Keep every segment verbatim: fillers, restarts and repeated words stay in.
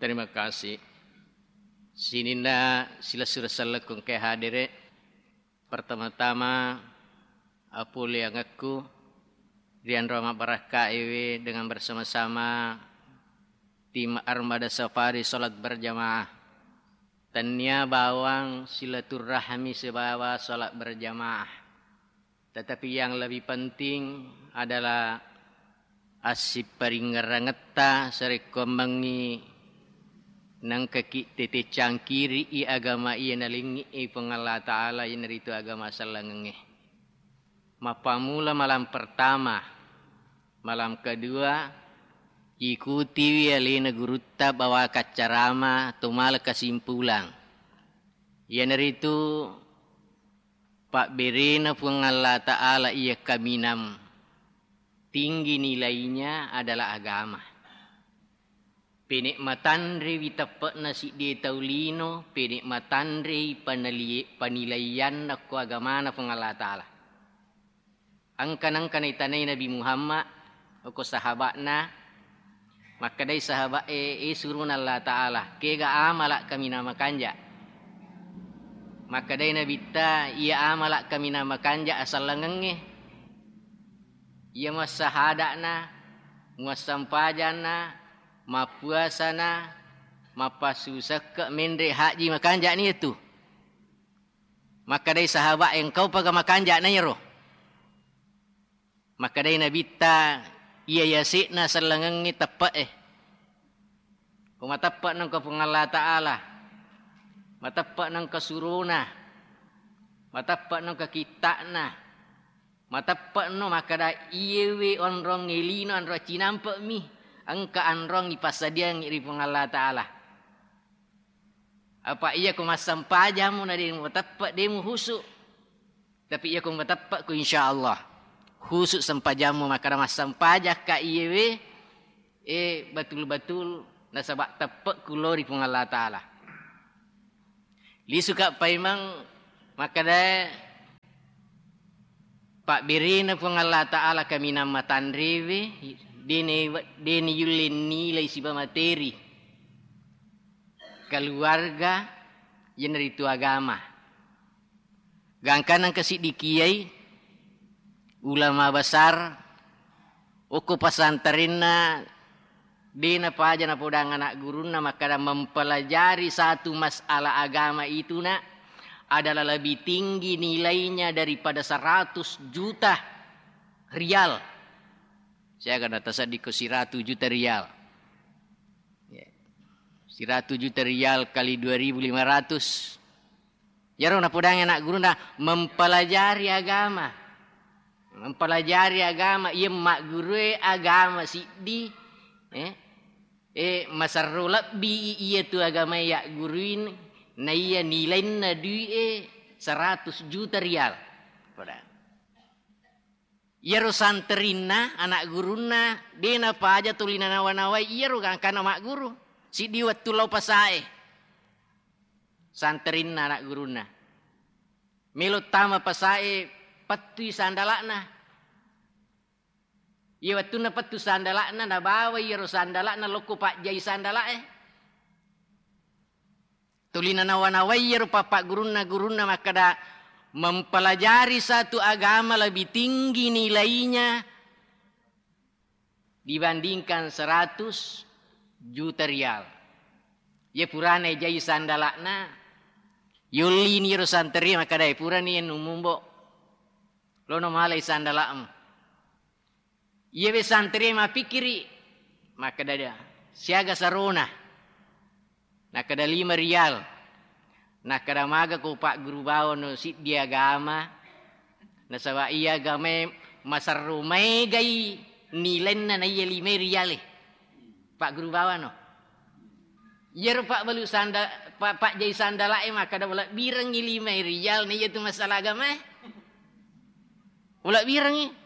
Terima kasih. Sininna silessureng sellekku engkae hadere. Pertama-tama, apoleangekku ri anro mabbarakkaewe dengan bersama-sama tim Armada Safari salat berjamaah. Tennia bawang silaturrahmi sibawa salat berjamaah. Tetapi yang lebih penting adalah assiparingngerangetta sarekkuammengngi nengkaki tete cangkiri'i agama iya nalengngi Puang Allah Ta'ala, iyanaritu agama sellengengnge. Mappammula malam pertama, malam kedua, ikutiwi alena gurutta bawa kaccarama to mala kesimpulan. Iyanaritu pabberena Puang Allah Ta'ala iya kaminang tinggi nilainya adalah agama. Pene' matanrewi teppe'na siddi tau lino, pene' matanrei panali-, panilaianna ko agamana Puang Allah Ta'ala. Engka nengka naitanai Nabi Muhammad, okko sahaba'na, makkedai sahaba'e, "E surona Allah Ta'ala, kega amala' kaminang makanja'?" Makkedai Nabitta, "Iya amala' kaminang makanja' asellengengnge. Iya muassahada'na, muassampajanna, mappuasana, mappassusekke', menre' haji, makanja'ni iyatu." Makkedai sahaba'e, "Engkaupaga makanja'na iyaro?" Makkedai Nabitta, "Iya yase'na sellengengnge teppe'e. Ko mateppe' nengka Puang Allah Ta'ala, mateppe' nengka surona, mateppe' nengka kitta'na, mateppe'no makkeda iyewe onrong elino anro cinampe'mi, engka anrong ipassadiangngi ri Puang Allah Ta'ala. Apa iya ko massempajammu na de' muteppe', de' muhusu'. Tapi iya ko muteppe' ko insya Allah husu' sempajammu, makkeda massempajakka iyewe, e, betul-betul nasaba' teppe'ku lao ri Puang Allah Ta'ala." Lisuka' paimeng makkeda pabberena Puang Allah Ta'ala kaminang matanrewe, de' ne-, de' niyulle nilai siba materi. Keluarga, iyanaritu agama. Gangkanna engka siddi kiai, ulama besar, okko pesantrenna, de' napaja napodang ana' gurunna makkeda mempelajari satu masalah agama itu, nak, adalah lebih tinggi nilainya daripada seratus juta rial. Siaga nataseddiko siratu juta rial. Ya. Siratu juta rial kali dua ribu lima ratus. Iyaro napodangi ana' gurunna mempelajari agama. Mempelajari agama, iya maggurue agama siddi, eh, eh, maserro lebbi i-, iyatu agamae yagguruin, naiya nilainna dui'e seratus juta rial. Pada. Iyaro santerinna, ana' gurunna, de' napaja tuli nanawa-nawai iyaro gangkanna magguru. Siddi wettu lao pasae. Santerinna, ana' gurunna. Melo tama pasae, pettui sandala'na. Iya wettunna pettu sandala'na, nabawa iyaro sandala'na lokko pajjai sandala'e. Tuli nanawa-nawai iyaro pappaggurunna-gurunna makkeda, mempelajari satu agama lebih tinggi nilainya dibandingkan seratus juta rial. Iya purana ejai sandala'na, yollini iyaro santeri makkeda, "E, purani ennumumbo. Lono malai sandala'mu." Iyawe santri mappikkiri, makkeda, "Siaga sarona?" Nakkeda, "Lima rial." Nakkeda, "Maga ko pagguru bawano siddi agama, nasaba iya agamae maserro maegai nilainna naiya lima riale." Pagguru bawano. Iyaro pabbalu sanda-, pa-, pajjai sandala'e makkeda, "Ulebbirengngi lima rial naiya tu masalah agamae." Ulebbirengngi.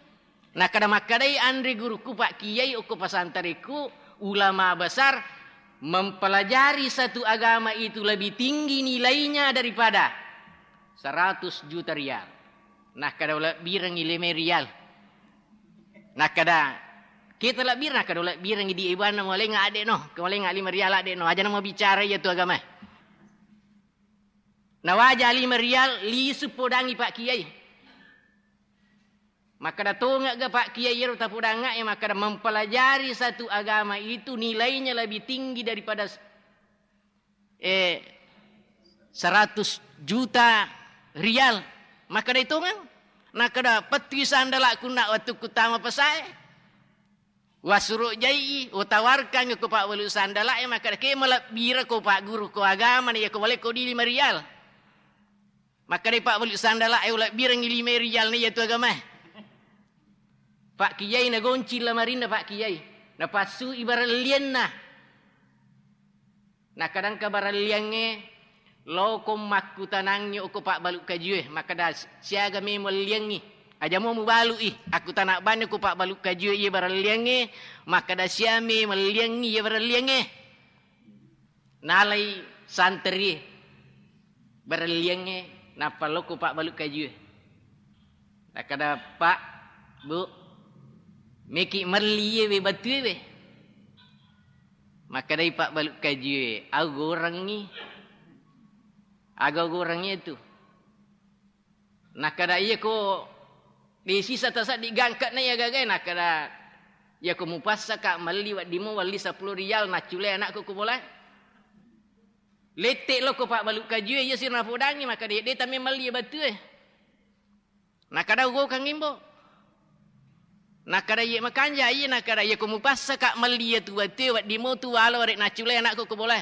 Nakkeda makkedai anre gurukku, pakkiai okko pasantarekku, ulama besar, mempelajari satu agama itu lebih tinggi nilainya daripada seratus juta rial. Nakkeda ulebbirengngi lima rial. Nakkeda Kita labbirang, kada ulabbirangngi di ibuanna, mualengnga adde no, mualengnga lima rial adde no, aja na mabicara iya tu agama. Nawaja lima rial, lisu podangngi Pak Kiai. Makkada tongegga Pak Kiai ero tapodangnga e, makkada mempelajari satu agama itu nilainya lebih tinggi daripada eh, seratus juta rial. Makkada itongeng, nakkada pettui sandala'ku na wettukku tama pesae. Wasuro jai, utawarkan ko Pak Balu sandala e, makkada ke malebbira ko Pak Guru ko agama na iya ko wale ko di lima rial. Makkada Pak Balu sandala e, ulabbirangngi lima rial na iya tu agama. Pak Kiai nagonci lamarinna Pak Kiai. Napassui barellianna. Nakkadangka barelliangnge, loko makkutanangngi okko pabbalu kajue, makkada, siaga me muelliangngi? Aja mo mubalu'i, akkutana banni okko pabbalu kajue iye barelliangnge, makkada, sia me muelliangngi iye barelliangnge? Nalai santerie barelliangnge, nappa lokko pabbalu kajue. Nakkada, "Pak, Bu, meki melli iye we batue we?" Makkedai pabbalu kajue, "Au gorengngi." Aga gorengngi itu? Nakkada, "Iya ko de sisa tasaddi gangkana iya gagae." Nakkada, "Iya ko mupassaka melli wedding mo welli seppulo rial naccule anakku ko bola." Lette lokko pabbalu kajue, iya sira napodangngi, makkada, "De tamme melli iye batue." Nakkada, "Ugokang imbo." Nakkada, "Iye makanja iye." Nakkada, "Iya ko mupassaka melli iya tu batue, wedding mo tu wala warek naccule anakku ko bola."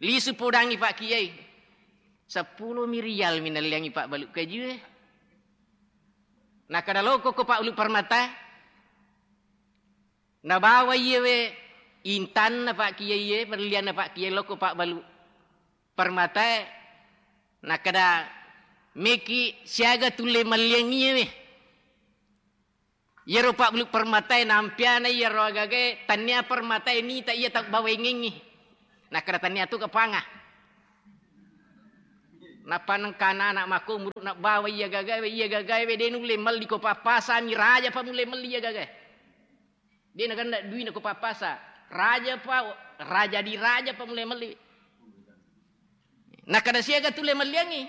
Lisu podangngi Pak Kiai. Seppulo mi rial mi nalliangngi pabbalu kajue. Nakkada, "Lokko ko pabbalu permata." Nabawa iye we intanna Pak Kiai e, berlianna Pak Kiai lokko pabbalu permatae, nakkada, "Meki siaga tulle malliang iye we?" Iyaro pabbalu permatae nampiana iyaro agagae, tannia permatae nita iya tabbawaengengngi. Nakkada, "Tannia tu kapanga." Nappa nengka anak-anak makko umuru nabbawa iya gagae we, iya gagae we de nulle melli ko pappasani, raja pa mulle melli iya gagae. De nagenna duina ko pappasa. Raja pa, raja di raja pa mulle melli. Nakkada, "Siaga tulle melliangngi?"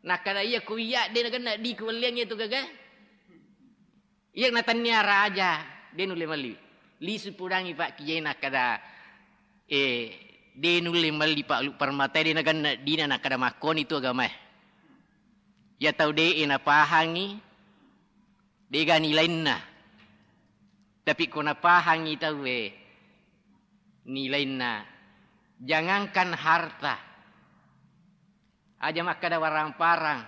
Nakkada, "Iya ko iya de nagenna di ku welliangngi tu gaga." Iya natannia raja, de nulle melli. Lisu podangngi Pak Kiai nakkada, "Eh, de nulle melli pabbalu permatae de nagenna dina." Nakkada, "Makkoni tu agamae." Iya tau de e napahangngi, dega nilainna. Tapi ko napahangngi tauwe nilainna, jangankan harta, aja makkada warang-parang,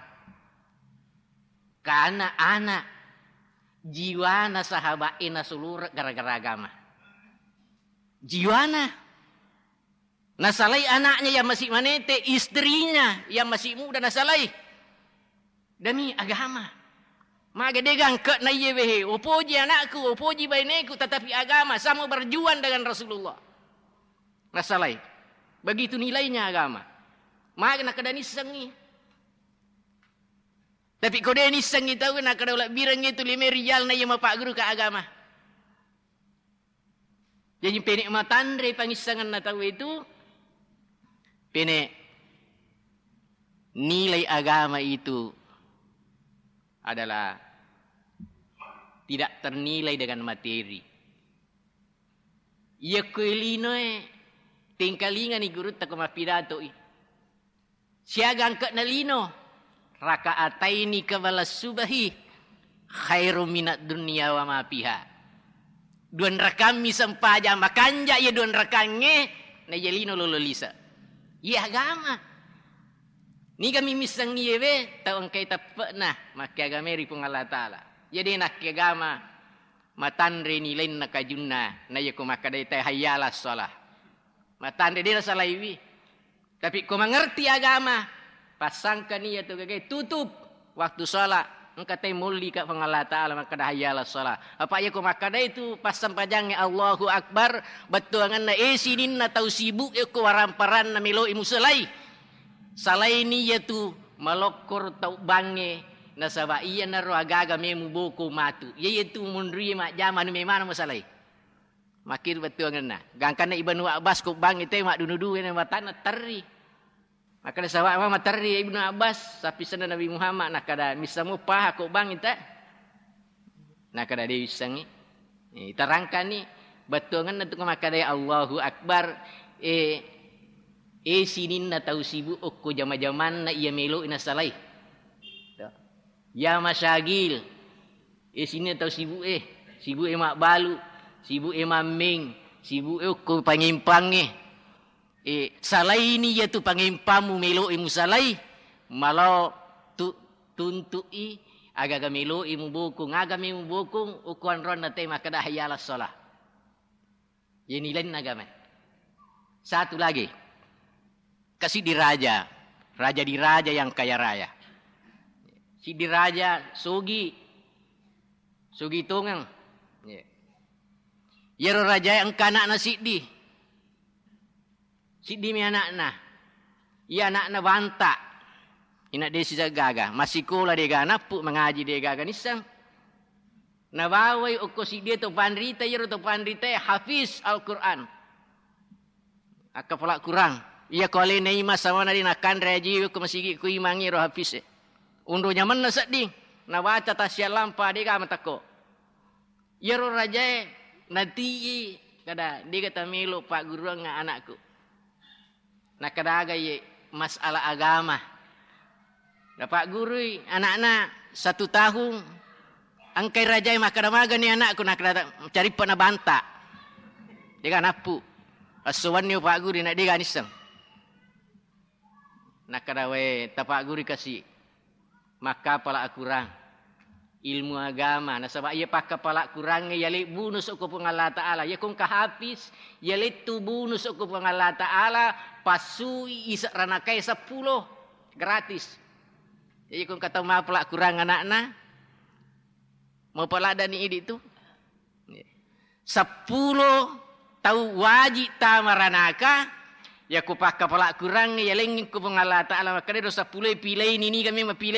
kana anak, jiwana sahabat e nasulure gara-gara agama. Jiwana. Nasalai anaknya yang masih manete, istrinya yang masih muda nasalai. Demi agama. Maga de gangkana iye wehe, upoji anakku, upoji baineku, tetapi agama sama berjuang dengan Rasulullah. Nasalai. Begitu nilainya agama. Maga nakkada nissengngi. Tapi ko de nissengngi tau, nakkada ulabbirengngi tu lima rial na iya mapagguru ka agama. Jaji pene matanre pangissengenna tau itu, pene nilai agama itu adalah tidak ternilai dengan materi. Iya kue linoe, tengkalingani gurutta ko mappidatoi. Siaga angke'na lino, "Raka'ataini qabla subahi khairum minad dunya wa ma fiha." Dua rakammi sempajang makanja iya dua rakangnge, na iya lino lolo lise. Iya agama. Niga mi misseng iye we, tau engkai teppe'na, makkeagamae ri Puang Allah Ta'ala. Iya de nakkeagama, matanre nilainna kajunna, na iya ko makkadai te hayya alas shalah. Matanre de nasalaiwi. Tapi ko mangerti agama, passangkani iya tu gagae tutup waktu sholat. Engka te molli ka Puang Allah Ta'ala makkada hayya alas shalah. Apa iya ko makkada itu passempajangnge Allahu Akbar, bettuangenna e sininna tau sibuk e ko waramparanna meloi musalai. Salaini iya tu malokkor tau bangnge Nasaba iyanaro agaga memu boko matu. Iya, iya tu munri majjama anu memana masalai. Makkiri bettuangenna. Gangkanna Ibnu Abbas ko bangi te maddunu duwe na matanna terri. Makkeda sawwa mama terri Ibnu Abbas, sappisenna Nabi Muhammad, nakkeda, "Missamo paha ko bangi ta?" Nakkeda, "De wissengngi." Eh, terangkanni bettuangenna tu makkeda, "Allahu Akbar." Eh, eh, sininna tau sibuk okko jama-jamanna iya melo nasalai. Ya masyagil. Eh, sininna tau sibuk eh. Sibuk eh mabbalu, sibuk eh mammeng, sibuk eh okko pangempang eh. Eh, salaini iyatu pangempammu melo'i musalai, malao tu-, tuntu'i agaga melo'i mubokong, aga me mubokong, ukkuanronna te makkeda hayya 'alas shalah. Ye nilainna agama. Satu lagi. Kasiddi raja, raja di raja yang kaya raya. Siddi raja sogi, sogi tongeng. Ye. Yero raja engka anakna siddi. Siddimi anakna. Iya anakna banta. Ina de sisa gaga. Masikola de gaga nappu, mangaji de gaga nisseng. Nabawai okko siddi to panrita, iyaro to panrita hafiz Al-Quran. Akkapala Quran. Iya ko alena ima samana de nakanre aji ko masigi ko imangi ro hafiz e. Undo nyamenna sedding. Nabaca tasialampa de gaga matakko. Iyaro rajae nati'i kada, "Dega tamelo pagguruang anakku." Nakkeda aga ye masalah agama. Napaggurui anakna satu tahun, engkai rajae makkeda, "Magani anakku?" Nakkeda, "Carippa na banta." Dega nappu. Esso wenni upagguru na dega nisseng. Nakkeda, "Wae, tapagguru kasi makkapala Akurang, ilmu agama, nasaba iya pakkapala Kurangnge yale bonus okko Puang Allah Ta'ala. Iya ko engka hafiz, yalettu bonus okko Puang Allah Ta'ala, passui isa ranakae seppulo gratis." Jadi ko engka tau mapala Kurang anakna, mau paladani idi tu. Seppulo tau wajib tama ranaka, yako pakkapala Kurangnge yalengngi ko Puang Allah Ta'ala, makkedaro seppulo e pilaini, niga memang pile